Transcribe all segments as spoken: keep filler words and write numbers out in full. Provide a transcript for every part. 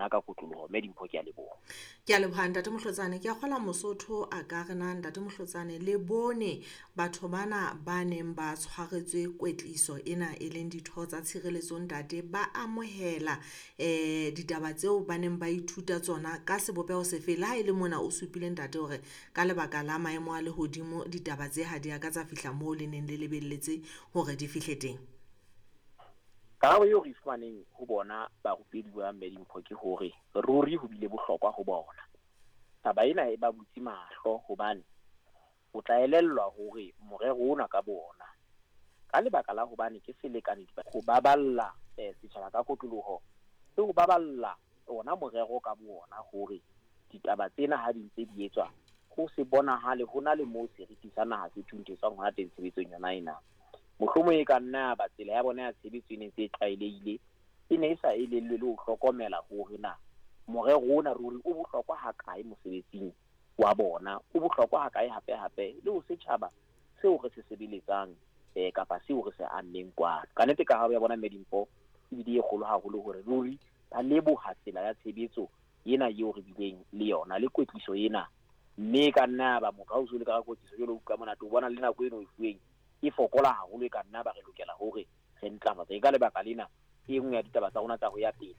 rona ka kotloloho. Mme Dimpho, ke a leboha. Ke a leboha Ntate Mohlotsane. Ke a kgola Mosotho a ka re na Ntate Mohlotsane le bone batho bana ba neng ba tshwaretswe kwetliso ena e leng ditho tsa tshireletso ntate ba amohela eh ditaba tseo ba neng ba ithuta tsona ka sebopeho sefe? Le ha e le mona o supile ntate hore ka lebaka la maemo a lehodimo ditaba tse ha di a ka tsa fihla moo le neng le lebelletse hore di fihle teng. Karabo eo re e fumaneng ho bona barupedi ba Mme Dimpho ke hore ruri ho bile bohlokwa ho bona. Taba ena e ba butse mahlo hobane o tla elellwa hore morero ona ka bona ka lebaka la hobane ke selekane ho baballa eh, setjhaba ka kotloloho le ho baballa ona morero ka bona hore ditaba tsena ha di ntse di etswa ho se bonahale ho na le moo seriti sa naha se thuntetswang hona teng tshebetsong yona ena. Mohlomong e ka nna ba tsela ya bona ya tshebetso e ne ntse e tlwaelehile, e ne e sa elellwe le ho hlokomela hore na morero ona ruri o bohlokwa hakae mosebetsing wa bona, o bohlokwa hakae hape hape le ho setjhaba seo re se sebeletsang eh, kapa seo re se ammeng kwano. Ka nnete karabo ya bona Mme Dimpho ebile e kgolo haholo hore ruri ba leboha tsela ya tshebetso ena eo re bileng le yona le kwetliso ena. Mme e ka nna ba motho ha o so le ka kwetliso jwalo o utlwa monate, o bona le nako eno e fuweng e fokola haholo, e ka nna ba re lokela hore re ntlafatse. Ka lebaka lena e nngwe ya ditaba tsa rona tsa ho ya pele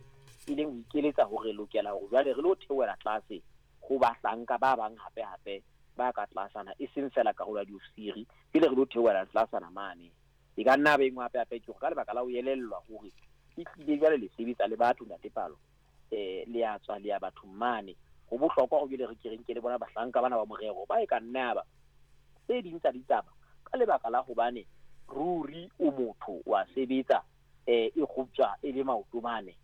e leng ho ikeletsa hore re lokela hore jwale re lo theohela tlase ho bahlanka ba bang hape hape ba ka tlasana, e seng fela karolo ya diofisiri, pele re lo theohela tlasana mane. E ka nna ba e nngwe hape hape ke hore ka lebaka la ho elellwa hore e tlile jwale le sebetsa le batho ntate Palo, eh le a tswa le ya bathong mane, ho bohlokwa hore jwale re ke re nke le bona bahlanka bana ba morero ba e ka nna ba tse ding tsa ditaba ka lebaka la hobane ruri o motho wa sebetsa eh e kgoptjwa e le maoto mane,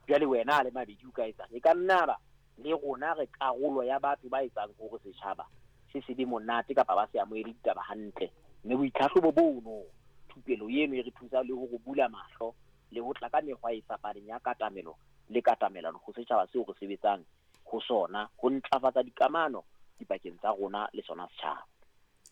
jwale wena a le mabedi o ka etsang. E ka nna ba le rona re karolo ya batho ba etsang hore setjhaba se se be monate kapa ba se amohele ditaba hantle. Mme boitlhahlobo bono, thupelo eno e re thusa le hore bula mahlo le ho tla ka mekgwa e fapaneng ya katamelo le katamelano ho setjhaba seo re sebetsang ho sona, ho ntlafatsa dikamano dipakeng tsa rona le sona setjhaba.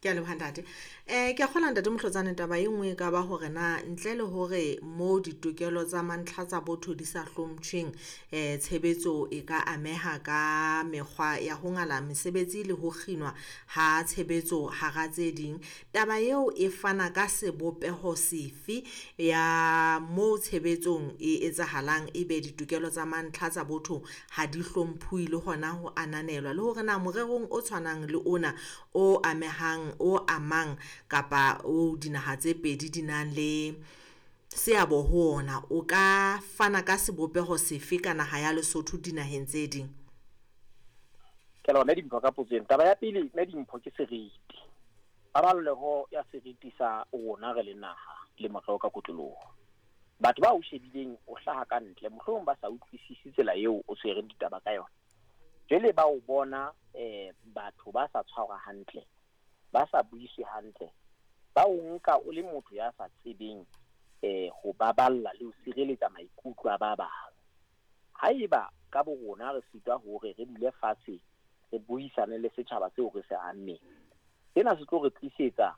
Ke a leboha ntate. Eh ke a kgola Ntate Mohlotsane taba e nngwe e ka ba hore na ntle le hore mo ditokelo tsa mantlha tsa botho di sa hlomptjhweng eh tshebetso e ka ameha ka mekgwa ya ho ngala mesebetsi le ho kginwa ha tshebetso hara tse ding. Taba eo e fana ka sebopeho sefe ya mo tshebetsong e etsahalang ebe ditokelo tsa mantlha tsa botho ha di hlomphuwe le hona ho ananelwa, le hore na morerong o tshwanang le ona o amehang o amang kapa o dinaha tse pedi di nang le seabo ho ona o ka fana ka sebopeho sefe ka naha ya Lesotho dinaheng tse ding? Ke lona Dimpho ka potso ena. Taba ya pele Mme Dimpho ke seriti, paballeho ya seriti sa rona re le naha le morero ka kotloloho. Batho ba o shebileng o hlaha ka ntle mohlomong ba sa utlwisise tsela eo o tshwereng ditaba ka yona, jwale ba o bona eh batho ba sa tshwarwa hantle, ba sa buiswe hantle, ba o nka o le motho ya sa tsebeng eh ho baballa le ho sireletsa maikutlo a ba bang. Haeba ka bo rona re sitwa hore re dule fatshe re buisane le setjhaba seo re se ammeng, sena se tlo re tlisetsa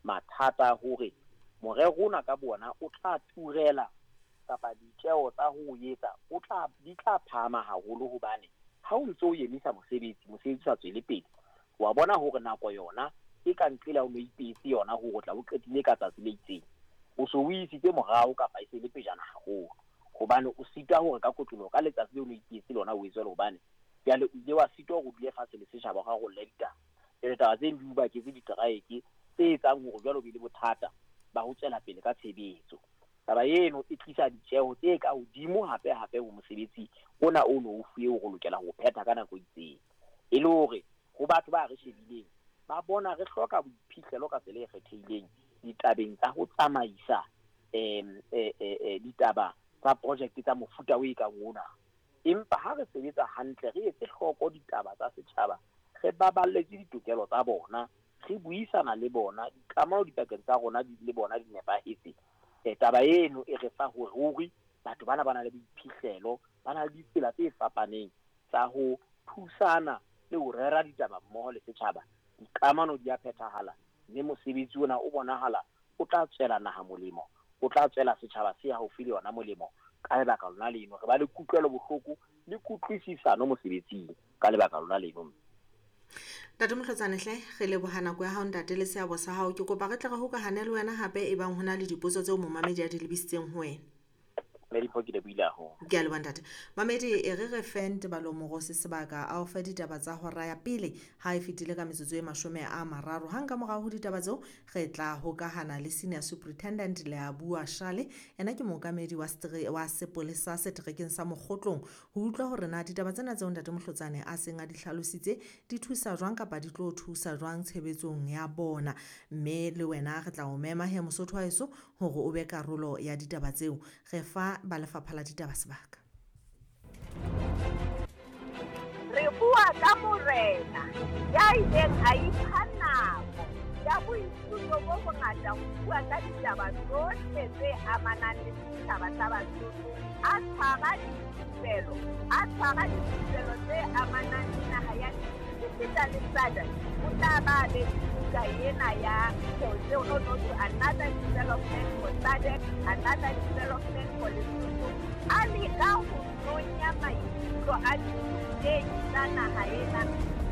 mathata hore morero ona ka bona o tla turela kapa ditjeo tsa ho etsa o tla di tla phahama haholo, hobane ha o ntso o emisa mosebetsi, mosebetsi o sa tswele pele, wa bona hore nako yona e ka nqela o no ipetse yona hore o tla o qetile ka tsatsi le itseng, o so o isitse morao kapa e se le pejana haholo, hobane o sitwa hore ka kotloloho ka letsatsi leo o no ipetse lona o etswe, hobane jwale o ile wa sitwa hore o dule fatshe le setjhaba o rarolle ditaba. Jwale taba tse di o baketse diteraeke tse etsang hore jwale o be le bothata ba ho tswela pele ka tshebetso. Taba eno e tlisa ditjeho tse ka hodimo hape hape ho mosebetsi ona o no o fuwe hore o lokela ho phetha ka nako e itseng, e le hore ho batho ba re shebileng ba bona re hloka boiphihlelo ka tsela e kgethehileng ditabeng tsa ho tsamaisa em eh eh ditaba tsa project tsa mofuta o e kang ona. Empa ha re sebetsa hantle, re etse hloko ditaba tsa setjhaba, re baballetse ditokelo tsa bona, re buisana le bona, dikamano dipakeng tsa rona le bona di nepahetse, eh taba eno e re fa hore ruri batho bana ba na le boiphihlelo, ba na le ditsela tse fapaneng tsa ho thusana le ho rera ditaba mmoho le setjhaba. Dikamano di a phethahala, mme mosebetsi ona o bonahala o tla tswela naha molemo, o tla tswela setjhaba se haufi le yona molemo, Ka lebaka lona leno re ba le kutlwelo bohloko le kutlwisisano mosebetsing ka lebaka lona leno. Ntate Mohlotsane hle re leboha nako ya hao ntate le seabo sa hao. Ke kopa re tle re hokahane le wena hape e bang hona le dipotso tseo momamedi a di lebisitseng ho wena. Medipo ke lebohile haholo. Ke a leboha ntate. Mamedi e re re fe Ntebalo Morosi sebaka a o fe ditaba tsa hora ya pele ha e fetile ka metsotso e mashome a mararo. Hang ka morao ho ditaba tseo re tla hokahana le Senior Superintendent Leabua Shale, ena ke mookamedi wa stre, wa sepolesa seterekeng sa Mokgotlong, ho utlwa hore na ditaba tsena tseo ntate Mohlotsane a seng a di hlalositse di thusa jwang kapa di tlo thusa jwang tshebetsong ya bona. Mme le wena re tla o mema he Mosotho wa heso hore o be karolo ya ditaba tseo. Re fa ba lefapha la ditaba sebaka. Re bua ka morena ya ileng a ipha nako ya boithuto bo bongata ho bua ka ditaba tsohle tse amanang le setjhaba sa Basotho, a tshwara dithupelo, a tshwara dithupelo tse amanang le naha ya esita le S A D C. O tla ba be buka ena ya tseo no no to another development for S A D C, another development for Lesotho. A leka ho nonya maikutlo a dithutehi tsa naha ena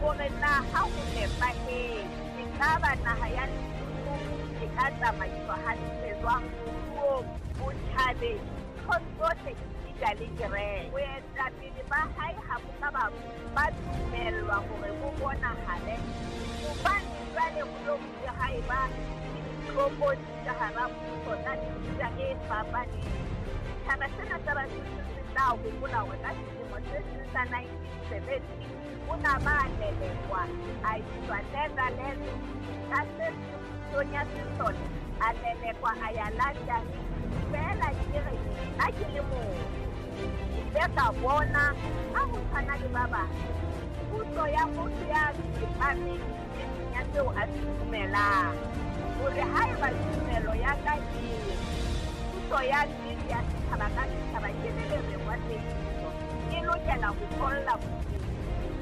hore na ha ho nepahetse ekaba naha ya Lesotho e ka tsamaiswa hantle jwang moruong, botjhabeng, nthong tsohle esita le kereke. Boetapele ba hae ha bo ka ba ba dumellwa hore bo bonahale hobane jwale ho lo bile ha eba le ditlokotsi ka hara puso tsa mefuta e fapaneng. Setjhaba sena sa Basotho se tla hopola hore ka selemo se seng sa nineteen seventy o na ba lelekwa a iswa Netherlands, ka se pusong ya sesole a lelekwa a ya London. Feela ke re nna ke le motho ke ile ka bona ha ho tshwana le ba bang puso ya motho ya tsepameng nneteng ya seo a se dumelang, hore haeba tumelo ya ka e re puso ya nnete ya setjhaba ka setjhaba ke le lereng wa tsebiso e lokela ho tholla bodimo,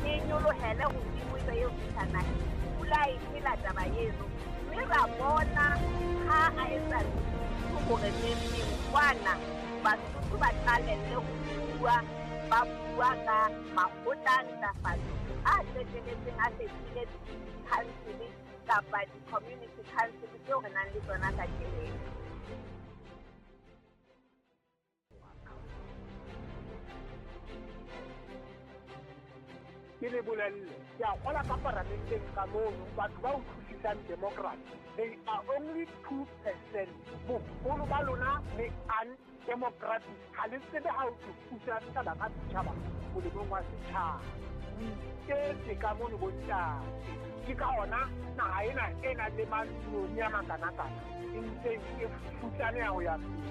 e nyolohele hodimo ebe eo fihla naheng. Pula e phela taba eno, mme ra bona ha a etsa hore neng kwana Basotho ba qalelle ho bua, ba bua ka makgotla a ntlafatso a qetelletseng a fetohile di-council kapa di-community council tseo re nang le tsona kajeno. Ke le bolelle, ke a kgola ka paramenteng ka mono batho ba utlwisisang democracy, they are only two percent. Boholo ba lona le undemocratic, ha le tsebe ha ho puso ya setjhaba ka setjhaba molemong wa setjhaba. O iketse ka mono bontate, ke ka ona naha ena e nang le manoni a makanakana e ntseng e futsaneha ho ya pele,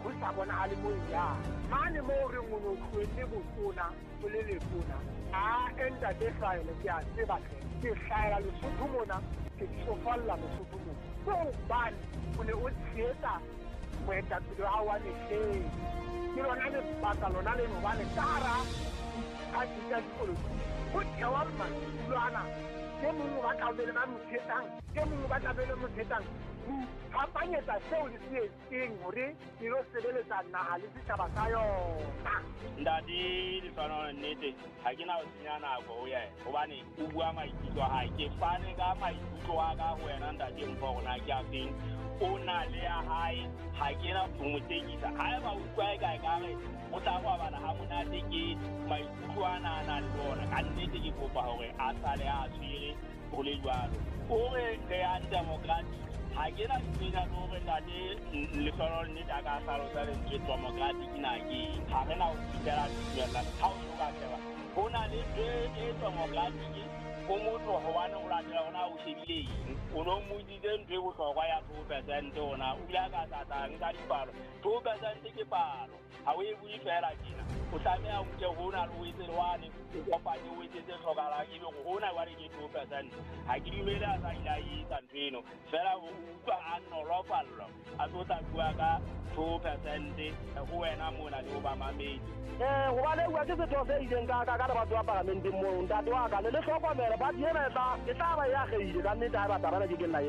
ho sa bonahale moo e yang. Mane moo re o no tlohelle botona o le letona, a ntate hlahele ke a tseba hle, ke hlahela Lesotho mona, ke tsofalla Lesotho mona. Ke hobane o ne o tshehetsa moetapele wa hao wa mehleng. Ke lona lebaka lona leno hobane ka hara diphathi tsa dipolotiki ho thewa madulo ana, e mong o batla ho be le ba mo tshehetsang, e mong o batla be le mo tshehetsang. Ho iphapanyetsa seo le se etseng hore le lo sebeletsa naha le setjhaba sa yona. Ntate Lehlohonolo, nnete ha ke na ho senya nako ho yena hobane o bua maikutlo a hae. Ke fane ka maikutlo a ka ho wena ntate Mpho hore na ke a feng. O na le ya hae, ha ke na ho mo tekisa. Haeba o utlwa eka ekare o tla robala ha monate ke maikutlo ana a nang le ona, ka nnete ke kopa hore a sale a tshwere ho le jwalo. O re re undemocratic, ha ke na tsena le hore ntate Lehlohonolo nnete a ka hlalosa lentswe democratic na ke eng. Ha re na ho fihlela tumellano ha o so ka sheba ho na le ntho e democratic o motho hobane o latela hona o shebile eng. O no mmotsitse ntho e bohlokwa ya two percent ona, o bile a ka sa tla nka dipalo. Two percent ke palo, ha o e bue feela tjena. O tlameha o nke hona le o etse le wane, o kopanye o etse tse hlokahalang, ebe hore hona jwale ke two percent. Ha ke dumele a sa ile a etsa ntho eno, feela o utlwa a nolofallwa a tlo tla bua ka two percent ho wena mona le ho bamamedi. Eh, hobane bua ke setho se ileng ka ka ka le batho ba paramenteng moo, ntate wa ka le le hlokomele party ena e tla e tla ba e akgehile ka nnete ha e batla bana ke ke nna.